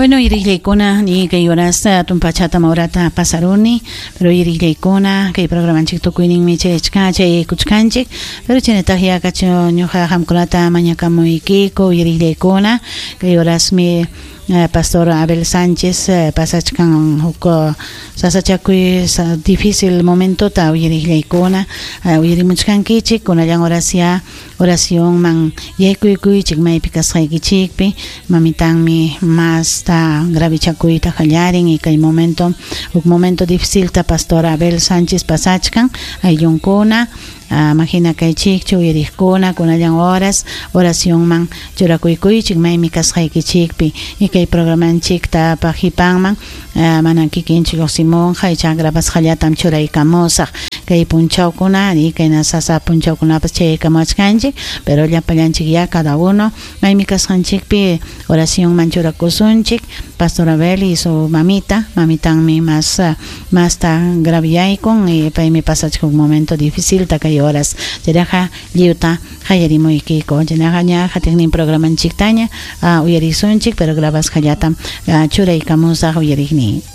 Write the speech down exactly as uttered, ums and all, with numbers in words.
Bueno, uyariqllaykuna ni kay horasta tumpachata maurata pasaruni, pero uyariqllaykuna kay programanchik tukuyninmi chayachkan chayaykuchkanchik, pero chaynataq yakachu ñuqa qamkunata mañakamuykiku uyariqllaykuna kay horasmi eh, Pastor Abel Sánchez eh, pasachkan huk sasachakuy sa difícil momentota uyariqllaykuna uh, uyarimuchkankichik kunallan oracia oracionman yaykuykuychik maypi kasqaykichikpi mamitanmi masta gravichakuyta qallarin y kay momento huk momento difícilta Pastor Abel Sánchez pasachkan ayllunkuna uh, mahina kaychikchu uyariqkuna kunallan horas oracionman churakuykuychik maymi kasqaykichikpi y kay programanchikta pajipanman uh, manan kikinchik lluqsimunqa ichaqa grabasqallatam churaykamusaq kay punchawkuna y kayna sasa punchawkunapas chayaykamuwachkanchik pero llapallanchik ya cada uno maymi kasqanchikpi oracionman churakusunchik Pastor Abel y su mamita mamitanmi más uh, masta graviyaykun y paymi pasachka un momento difícil ta kay horas chayraqa lliwta qallarimuykiku chaynaqa ña qatiqnin programanchiktaña uh, uyarisunchik pero grabasqallatam uh, churaykamusaq uyariqniy.